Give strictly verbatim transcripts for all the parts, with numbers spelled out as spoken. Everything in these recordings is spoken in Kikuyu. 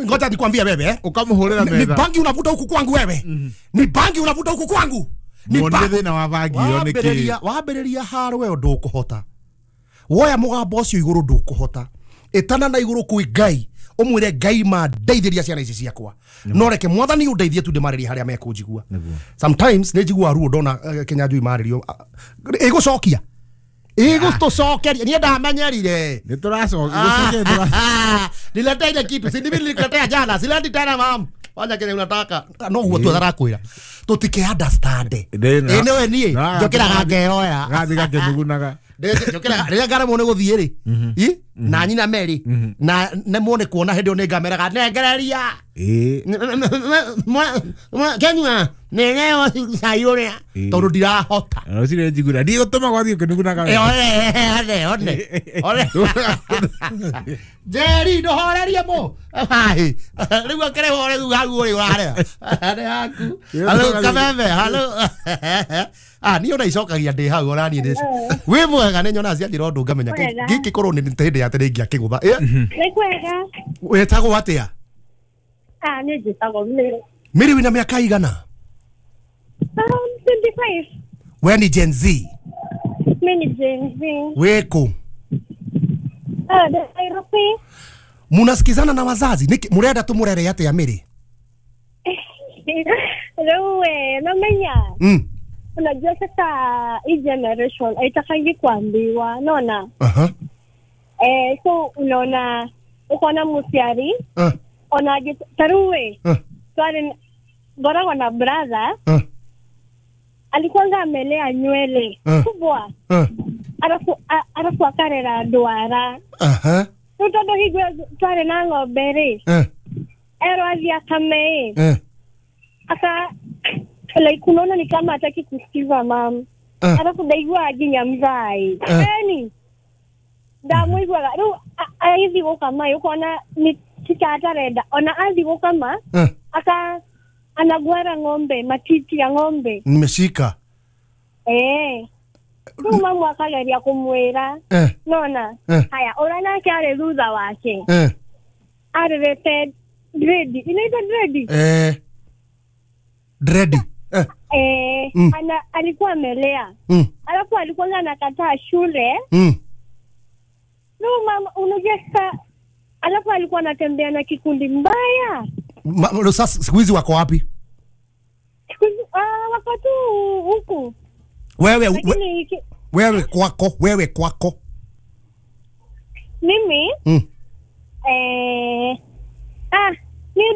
Ngoja nikwambie wewe eh. Ukamuhurira Ni metha. bangi unavuta huku kwangu wewe. Ni bangi unavuta huku kwangu. Ni Muonire bangi. thina wa bangi iyo niki. Wambĩrĩria wambĩrĩria haro wewe ndũkũhota. Woya mũgambo ũcio igũrũ ndũkũhota. Ĩtana na igũrũ kwĩ Ngai. Ũmwĩre Ngai ma ndeithĩria ciana ici ciakwa. No reke mwathani ũndeithie tu ndĩmarĩrie harĩa mekũnjigua. Sometimes nĩ njiguaga ruo ndona eh, Kĩnyanjui marĩrio. Ĩgũcokia. Ĩgũtũcokeria. Niĩ ndamenyerire. Nĩ tũracokia. Gũcokia Niletea ile kitu. Si ndimi nilikuletea jana. Sileti tena mam. Fanya kile unataka. No guo tu arakwira. Tutike understand. Ndĩ- Ĩ nĩwe niĩ Na- njũkĩraga ngeoya. Gathi gakĩnugunaga. Njũkĩraga rĩrĩa ngaremwo nĩ gũthiĩ rĩ. Ĩ na nyina Mary na nemwo nĩ kuona hĩndĩ ĩyo nĩ ngameraga nengereria. Ĩ. Kenyua neneo cai ũrĩa Ĩ. tondũ ndirahota. Rũcinĩ njiguaga ndigũtũma gwathiĩ ũkĩnugunaga. Ĩ, one one one Njeri ndũhorerie mũ Hai. Rĩu akĩrĩ horeru hau ũrĩ ũrarĩa nĩ haku. Halo kameme halo. Ah niĩ ona icokagia ndĩ hau ona niĩ ndĩ wĩ mwega nĩ nyonaga cianjĩra ũndũ ngamenya Mwega. gĩkĩ korwo nĩ hĩndĩ ya tene ingĩakĩgũtha. Ĩ, Nĩ kwega. wĩtagwo atĩa? Ah, niĩ njĩtagwo Mary. Mary wĩna mĩaka igana? Um, twenty-five. We ni Gen Z. Mi ni Gen Z. Wĩkũ? Ah, ndĩ Nairobi. Munasikizana na wazazi? Nĩkĩ mũrenda tũmũrere atĩa Mary? Rĩu we, namenya. Mm. Unajua sasa hii generation haitakangi kuambiwa, naona. Aha. Eh, so unaona uko na musiari, Ah. ona taruwe. Ah. Twari ngoragwo na brother, Ah. alikuwanga amelea nywele Ah. kubwa. Ah. Arafu a- arafu akarera ndwara. Aha. Rĩu tondũ hingo ĩyo twarĩ na ng'ombe rĩ, Eh. erwo athiĩ akame ĩ, Eh. aka like unaona ni kama hataki kusikiza mam. Ah. Alafu ndaiguaga nginya mzai. Eh. Eni ndamũiguaga rĩu a- agĩthiĩ gũkama ĩ, ũkona nĩ tika atarenda ona athiĩ gũkama Eh. aka anagwara ng'ombe matiti ya ng'ombe Nimeshika. eh rĩu mamu akageria kũmwĩra Eh. nona Eh. haya ũrĩa nake arĩ thutha wake Eh. arerete dread inaitwa dread Eh. Dread. Eh. eh Mm. ana alikuwa amelea Mm. alafu alikuwa anakataa shule Mm. no mama unajua sasa alafu alikuwa anatembea na kikundi mbaya. Ma, sasa siku hizi wako wapi? Siku hizi ah, wako tu huku. Wewe we, Lakini iki- wewe kwako, wewe kwako. mimi Mm. eh ah niĩ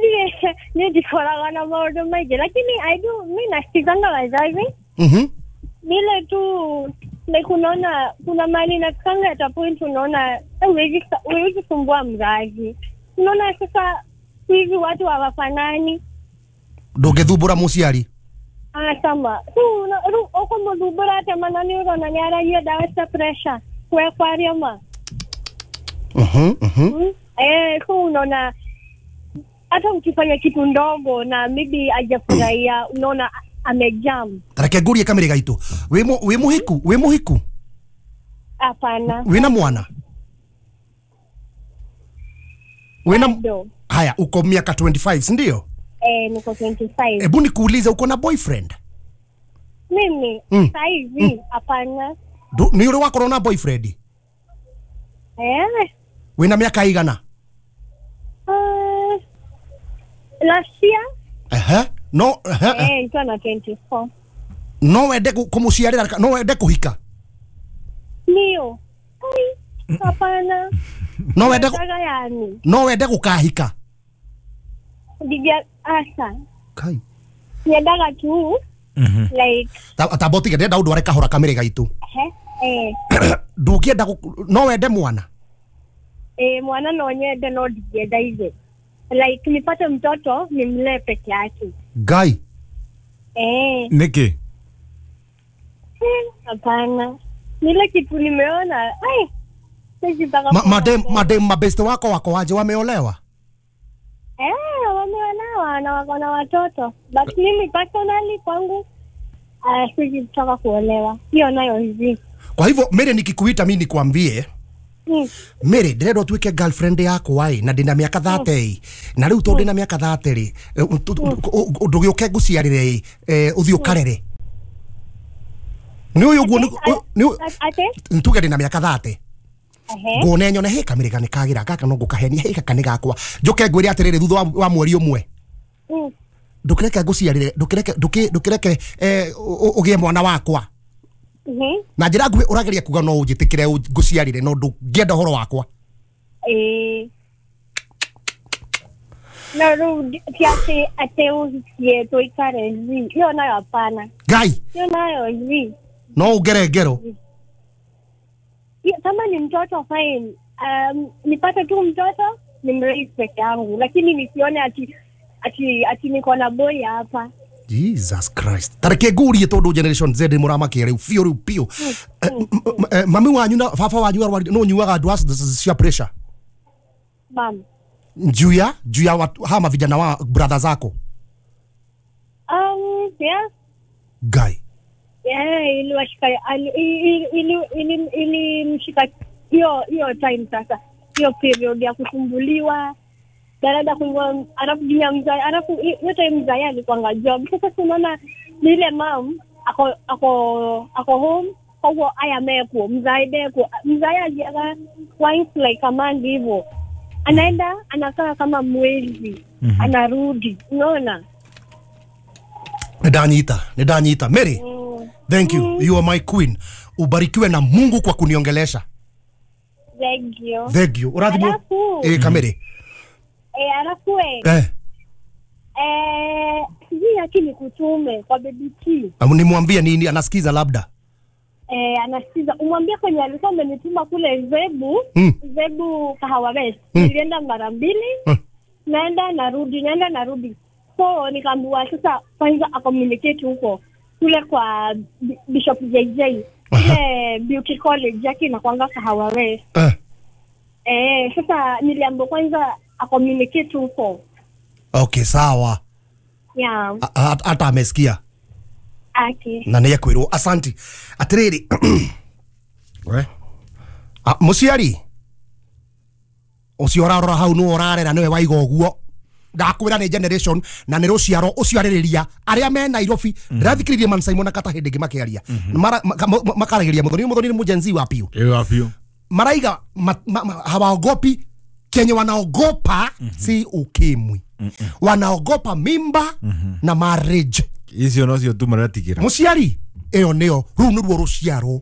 niĩ ndikoragwo na maũndũ maingĩ lakini I do mi nasikizanga wazazi. Mhm. Nile tu like unaona kuna mahali inafikanga at a point unaona eh, huwezi huwezi sumbua mzazi. Unaona sasa hivi watu hawafanani. Ndũngĩthumbũra mũciari. Ah, sama. Rĩu una- rĩu ũkũmũthumbũra atĩa mana nĩ ũrona nĩ aranyua ndawa cia pressure kwe kwaria ma. Mhm. Mhm. Mm. Eh, so unaona hata ukifanya kitu ndogo na maybe hajafurahia unaona amejam. Reke ngũrie kamĩrĩ gaitũ. Wĩ mũ- wĩ mũhiku, wĩ mũhiku? Hapana. Wĩna mwana? Wĩna Bado. Haya, uko miaka twenty-five, si ndio? Eh, niko twenty-five. Hebu nikuulize uko na boyfriend? Mimi Mm. saizi hapana. Ndu- Nĩ ũrĩ wakorwo na boyfriend? Eh. Wĩna mĩaka igana? Uh, last year Ehe. No, ehe. eh nilikuwa na twenty-four. No wende kũ- kũmũciarĩra ka- no wende kũhika? Ndio. Ai, hapana. No wende kũ- Nataka yani. no wende gũkahika? Ndigia asa. Kai. Niendaga tu like Ta- Tamba ũtige ndĩrenda ũndware kahora kamĩrĩ gaitũ. eh eh Ndũngĩenda gũ- no wende mwana? eh mwana no nyende no ndingĩenda ithe. Like nipate mtoto nimlee peke yake. Ngai. Eh, Nĩkĩ? eh, hapana. Nile kitu nimeona. Ai. Sijitaka Ma, kuona madem tena. madem mabeste wako wako waje wameolewa? Eh, wameolewa na wako na watoto. But mimi personally kwangu uh, sijitaka kuolewa. Hiyo nayo hivi. Kwa hivyo Mary nikikuita mimi nikwambie Mm. Mary ndĩrenda ũtuĩke girlfriend yakwa ĩ na ndĩna mĩaka thirty na rĩu tondũ ndĩna mĩaka thirty rĩ ndũgĩũke ngũciarĩre ĩ ũthiĩ ũkarere nĩ ũyũ ũguo nĩ Ate? tuge ndĩna mĩaka thirty Ehe. nguone nyone he kamĩrĩ nĩ kagĩra gaka no ngũkahenia he gaka nĩ gakwa njũke ngwĩre atĩrĩrĩ thutha wa- wa mweri ũmwe Mm. ndũkĩreke ngũciarĩre ndũkĩreke ndũkĩ- ndũkĩreke eh, ũ- ũ- ũgĩe mwana wakwa Mhm. na njĩra nguhĩ ũrageria kuga no ũnjĩtĩkĩre ũ- ngũciarĩre no ndũngĩenda ũhoro wakwa Eh. No rĩu ti atĩ atĩ ũhikie tũikare zi. Hiyo nayo hapana. Ngai Hiyo nayo zi. no ũngere ngero Hiyo, kama ni mtoto fine. Um, nipate tu mtoto nimraise peke yangu, lakini nisione ati ati ati niko na boy hapa. Jesus Christ tareke ngurie tondu generation Z muramakia riu biũ riu biũ Eh, m- m- eh, mami wanyu na baba wanyu arwari no nyuaga ndawa cia pressure Mam. juu ya juu ya watu hama vijana wa brother zako Um, yeah. Ngai Yeah, iliwashika ali- ili ili ili ilimshika hiyo hiyo time sasa. Hiyo period ya kusumbuliwa. Dada kuingwa alafu jina mzai alafu hiyo time mzai alikuwa job. Sasa tunaona ni ile mam ako ako ako home koguo aya mekuo mzai ndekuo mzai aliaga once like a month hivyo anaenda anakaa kama mwezi mm-hmm. anarudi unaona nĩndanyita nĩndanyita Mary mm. thank you you are my queen ubarikiwe na Mungu kwa kuniongelesha Thank you. thank you ũrathimwo Alafu eh kamere eh alafu eh eh eh sijui yake ni kutume kwa baby T. Amu nimwambie nini anasikiza labda Eh anasikiza umwambie kwenye alikuwa amenituma kule Zebu Mm. Zebu Kahawa West Mm. nilienda mara mbili Mm. naenda narudi naenda narudi so nikaambiwa sasa kwanza acommunicate huko kule kwa B- Bishop J J ile beauty college yake inakuanga Kahawa West eh eh sasa niliambiwa kwanza acommunicate huko okay sawa yeah A- a- hata amesikia okay na nä ekwä rwo asanti atä rä rä We. må ciari å cio ũrarora hau nä ũrarera nĩwe waiga ũguo ndakwä ra nä generation na nä rå ciaro å cio arä rä ria arä a me Nairobi ndĩrathikĩrĩirie man Simon na Kata hĩndĩ ĩngĩ makĩaria Mara- maka- ma- makaragĩria mũthoni mũthoni nĩ mũjenzi wa piũ Ĩyo wa biũ. maraiga ma, ma, ma, hawaogopi kenye wanaogopa mm -hmm. si ukimwi mm -mm. wanaogopa mimba mm -hmm. na marriage Icio nocio tu maratigĩra. muciari ĩyo nĩyo rũu nĩruo rũciaro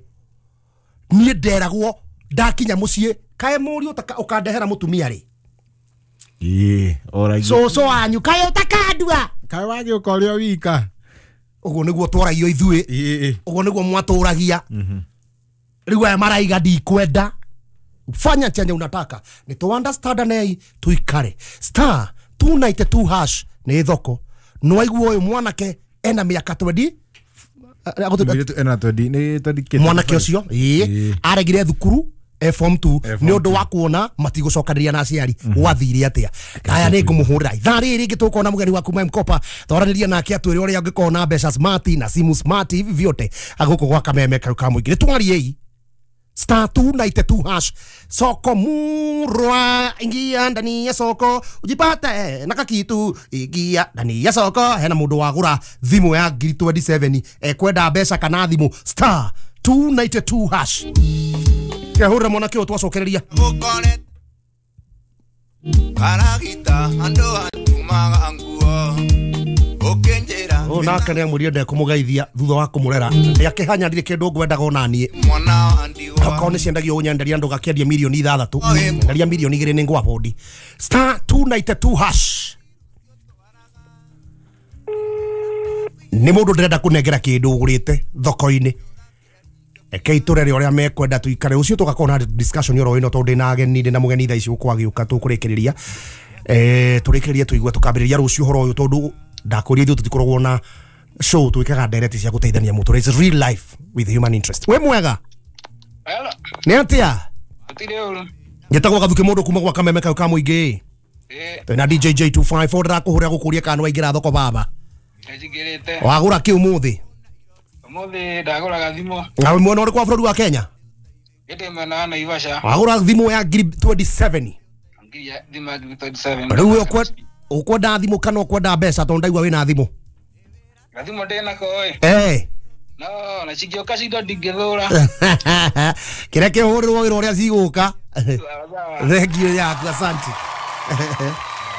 niĩ nderagwo ndakinya mũciĩ kaĩ mũriũ ũkandehera mũtumia rĩ Ĩĩ, oragia. cũcũ wanyu kaĩ ũtakandua Kaĩ wagĩũka ũrĩ o wika. ũguo nĩguo twaragio ithuĩ Ĩĩ. ũguo nĩguo mwatũragia rĩu aya maraiga ndikwenda fanya chenye unataka nĩ tũ understand nei tuikare star two ninety-two hash nĩ thoko nĩwaigua ũyũ mwanake ena mĩaka twenty Mũirĩtu ena twenty nĩ twenty kĩ- mwanake ũcio ĩĩ Ĩĩ. aregire thukuru e form two E form nĩ ũndũ wa kuona matigũcokanĩria na aciari gwathire atĩa aya nĩ ngũmũhũrĩra ithaa rĩrĩ rĩngĩ tũkona mũgeni waku M-Kopa twaranĩria nake atwĩre ũrĩa ũngĩkorwo na mbeca smart na simu smart hivi vyote agũkũ gwa kameme kau ka mũingĩ nĩ twariei star two ninety-two hash soko murwa ingia ndani ya soko ujipate na kakitu ingia ndani ya soko hena mundu wagura thimu ya ngiri twenty-seven ekwenda mbeca kana thimu star two ninety-two hash kehurira mwanake ũyũ twacokereria Gũkore karagita andũ atumaga nguo ũkĩnjĩra ũyũ nake nĩ amwĩrire ndekũmũgeithia thutha wa kũmũrera nĩakĩhanya ndirĩ kĩndũ ngwendaga ona niĩ mwana wa ndigwa okorwo nĩ ciendagio ũnyenderia ndũgakĩendia mirioni ithathatũ enderia mirioni igĩrĩ nĩ ngwa bondi star two ninety-two hash nĩ mũndũ ndĩrenda kũnengera kĩndũ ũgũrĩte thoko-inĩ reke itũrere ũrĩa mekwenda tuikare ũcio tũgakorwo na discussion oro ĩno tondũ ndĩna ageni ndĩna mũgeni thaa ici gũkũ agĩũka tũkũrĩkĩrĩria eh tũrĩkĩrĩrie tũigue tũkambĩrĩria rũciũ ũhoro ũyũ tondũ ndakũria ithuĩ tũtikoragwo na show twĩkaga ndereti cia gũteithania mũtũrĩre. It's real life with human interest wĩ mwega Hello. nĩ atĩa Gũtirĩ ũru. njĩtagwo Gathuki mũndũ kuma gwa kameme kau ka mũingĩ Ĩĩ, twĩna D J J two five four ndĩrakũhũrĩra gũkũria kana nĩwaingĩra thoko baba nĩnjingĩrĩte. wagũra kĩ ũmũthĩ Ũmũthĩ ndagũraga thimũ. na mwena ũrĩkũ wa bũrũri wa Kenya Ĩndĩ mwena wa Naivasha. Wagũra thimũ ya ngiri twenty-seven. Ngiri ya thimũ ya ngiri twenty-seven. Rĩu ũkwe ũkwenda thimũ kana ũkwenda mbeca tondũ ndaigua wĩna thimũ? Gathimũ ndĩnako ĩ. Eh. No, na cingĩũka cindo ndingĩthũra. Kĩrĩa kĩhũrĩrwo wĩra ũrĩa cigũka. Thank you yaku, asante.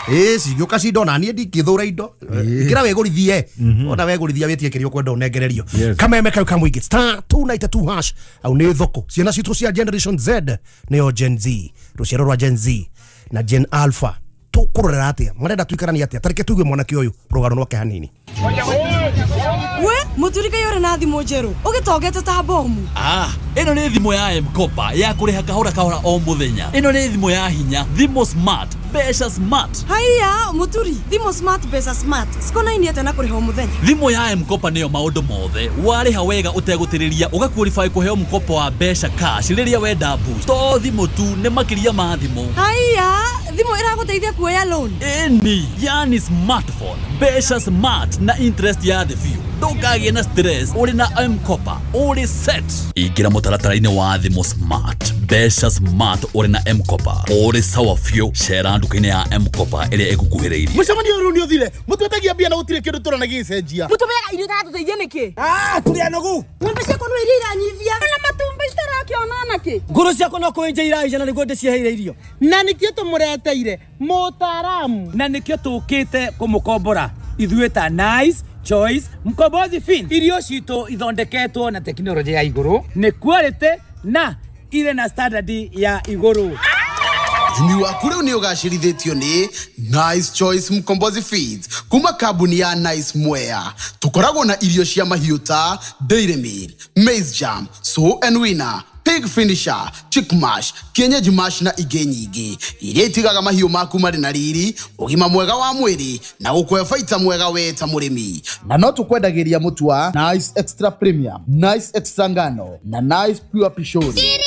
Ĩ cigĩũka cindo na niĩ ndingĩthũra indo. Kĩra wĩgũrithie. Ona wegũrithia wĩtie kĩrĩa ũkwenda ũnengererio. Kameme kau kamũingĩ star two nine two hash au nĩ thoko. Ciana citũ cia Generation Z nĩyo Gen Z, rũciaro rwa Gen Z na Gen Alpha. Tũkũrorera atĩa? Marenda tuikaranie atĩa? Tareke tuigue mwanake ũyũ rũgano rwake hanini. We muturika yore na thimũ njerũ ũgĩtongete ta bomu. Ah, ĩno nĩ thimũ ya M-Kopa ya kũrĩha kahora kahora o mũthenya. Ĩno nĩ thimũ ya hinya, thimũ smart, mbeca smart. Haiya muturi, thimũ smart mbeca smart cikonainie atĩa na kũrĩha o mũthenya? Thimũ ya M-Kopa nĩyo maũndũ mothe. Warĩha wega ũtegũtĩrĩria ũgaqualify kũheo mkopo wa mbeca cash rĩrĩa wenda boost. To thimũ tu, nĩ makĩria ma thimũ. Haiya, thimũ ĩragũteithia kuoya loan. Ĩni, yani smartphone, mbeca smart na interest ya thĩ biũ. Ndũkagĩe na stress ũrĩ na M-Kopa, ũrĩ set. Ingĩra mũtaratara-inĩ wa thimũ smart, mbeca smart ũrĩ na M-Kopa, ũrĩ sawa biũ. Cera nduka-inĩ ya M-Kopa ĩrĩa ĩgũkuhĩrĩirie. Mũcemanio ũyũ nĩ ũthire, mũtwetagia mbia na gũtirĩ kĩndũ tũrona gĩgĩcenjia. Mũtũmeaga irio itatũteithia nĩkĩ? Ah, tũrĩ anogu. Ng'ombe ciakwa no iria iranyivia. Na matumbĩ citarakĩona nakĩ? Ngũrũ ciakwa no kũenja iraija na nĩguo ndĩciheire irio. Na nĩkĩo tũmũreteire mũtaaramu. Na nĩkĩo tũkĩte kũmũkombora ithuĩ ta Nice Choice Mkombozi Fin. Irio citũ ithondeketwo na tekinoronjĩ ya igũrũ, nĩ quality na irĩ na standard ya igũrũ. Ũrĩmi waku rĩu nĩ ũgacĩrithĩtio nĩ Nice Choice Mkombozi Feeds kuma kambuni ya Nice Mwea. Tũkoragwo na irio cia mahiũ ta Dairy Meal, Maize Jam, Sow and Winner, Pig Finisher, Chick Mash, Kienyeji Mash na ingĩ nyingĩ iria itigaga mahiũ maku marĩ na riri, ũgima mwega wa mwĩrĩ na gũkũhe baita mwega we ta mũrĩmi. Na no tũkwendagĩria mũtu wa Nice Extra Premium, Nice Extra Ngano na Nice Pure Pishori. Nice.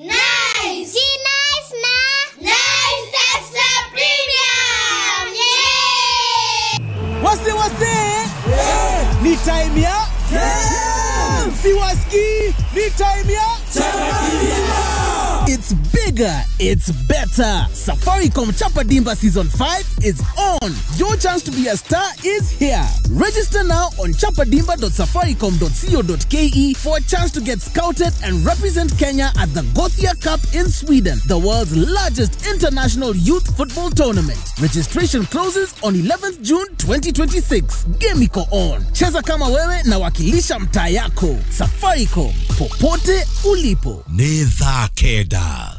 Nice na Nice Extra Premium. Yeah. Wase wase. Yeah. Ni time ya yeah. Siwaski, ni time ya It's bigger, it's better. Safaricom Chapa Dimba Season five is on. Your chance to be a star is here. Register now on chapadimba dot safaricom dot co dot ke for a chance to get scouted and represent Kenya at the Gothia Cup in Sweden, the world's largest international youth football tournament. Registration closes on eleventh June twenty twenty-six. Game iko on. Cheza kama wewe na wakilisha mtaa yako. Safaricom, popote ulipo. Nĩ thaa kenda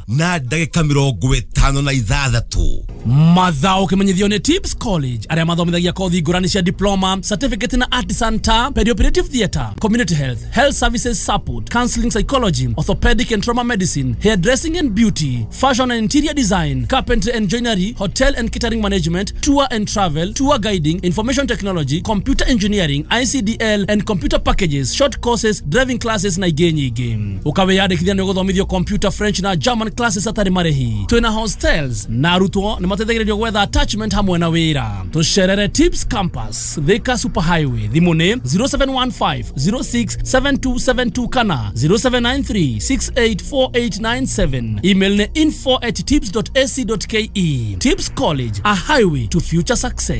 na ndagĩka mĩrongo ĩtano na ithathatũ. Mathao ũkĩmenyithio nĩ Tips College arĩa mathomithagia kothi ngũrani cia diploma, certificate na artisan ta perioperative theatre, community health, health services support, counseling psychology, orthopedic and trauma medicine, hairdressing and beauty, fashion and interior design, carpentry and joinery, hotel and catering management, tour and travel, tour guiding, information technology, computer engineering, I C D L and computer packages, short courses, driving classes na ingĩ nyingĩ. Ũkawĩyandĩkithia nĩ ũgũthomithio computer, French na German classes atarĩ marĩhi. Twĩna hostels na arutwo nĩ mateithagĩrĩrio gwetha attachment hamwe na wĩra. Tũcerere Tips Campus, Thika Super Highway. Thimũ nĩ zero seven one five zero six seven two seven two kana zero seven nine three six eight four eight nine seven. Email nĩ info at tips dot a c dot k e. Tips College, a highway to future success.